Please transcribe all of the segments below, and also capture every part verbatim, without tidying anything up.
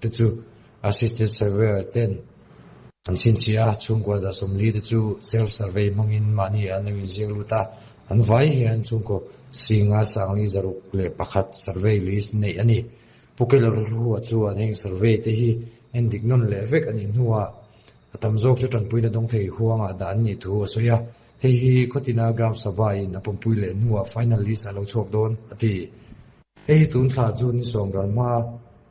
te chu assisted surveyor ten an chhinchhiah a, chhungkua za sawmli te chu self survey hmangin mahni an lo inziak lut a, an vai hian chhungkaw singa sangli zaruk leh pakhat survey list neih a ni. Pu Kelalhua chuan heng survey te hi endik nawn leh vek a nih hnuah a tam zawk chu tanpuina dawng thei huangah dah an nih thu a sawi a, hei hi khawtina Gram Sabha in a pawmpui leh hnuah final list a lo chhuak dawn a ti. Hei hi tun thla chu ni sawm ral hma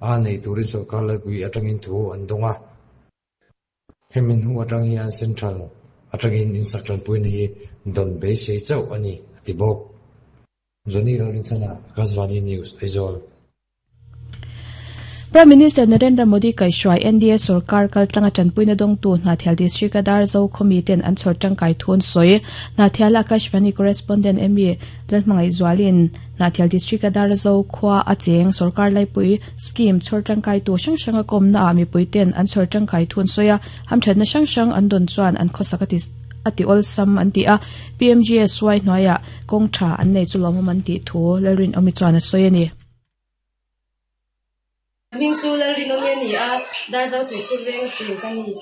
a nei turin sorkar laipui atangin thu an dawng a, hemi hnu atang hian central atangin insak tanpuina hi dawn beisei chauh a ni a ti bawk. Johnny Lalrinchhana, Akashvani News, Aizawl. Prime Minister Narendra Modi kaihhruai N D A sarkar kaltlanga tanpuina dawngtu Hnahthial District a Darzo khawmi ten an chhawr tangkai thu an sawi. Hnahthial Akashvani correspondent M E Lalhmangaih Zualin Hnahthial District a Darzo khua a cheng sarkar laipui scheme chhawr tangkai tu hrang hrang a kawmna ah mipui ten an chhawr tangkai thu an sawi a, hamthatna hrang hrang an dawn chuan an khawsak a ti ati awlsam an ti a, P M G S Y hnuaiah kawng tha an nei chu lawmawm an tih thu Lalrin Awmi chuan a sawi a ni. Ming chu Lalrin Awmi a ni a, Darzo tuikhur veng a cheng ka ni.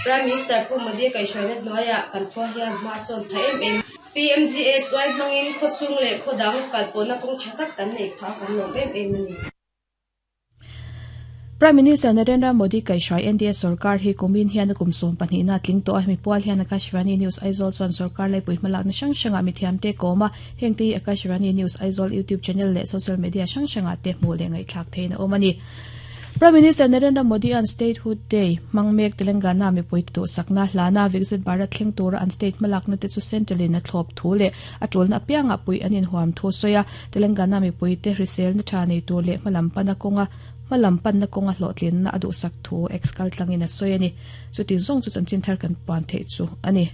Prime Minister Pu Modi kaihhruaina hnuaiah kan khua hian hma sawn pha em em. P M G S Y hmangin khawchhung leh khawdang kalpawhna kawng tha tak kan nei pha kan lawm em em a ni. Prime Minister Narendra Modi kaihhruai N D A sarkar hi kumin hian a kum sawm pahnihna tling tawh a, mipual hian Akashvani News Aizawl chuan sarkar laipui hmalakna hrang hrangah mithiam te kawm a, heng te hi Akashvani News Aizawl YouTube channel leh social media hrang hrangah te hmuh leh ngaihthlak thein a awm a ni. Prime Minister Narendra Modi an Statehood Day hmangmek Telangana mipui te duhsakna hlana Viksit Bharat thleng tura an state hmalakna te chu central in a thlawp thu leh a tulna apiangah pui an inhuam thu sawi a, Telangana mipui te hriselna tha nei tur leh hmalam pana kawnga hmalam panna kawnga hlawhtlinna a duhsak thu ex kaltlangin a sawi a ni. Chuti zawng chu chanchin thar kan puan theih chu a ni.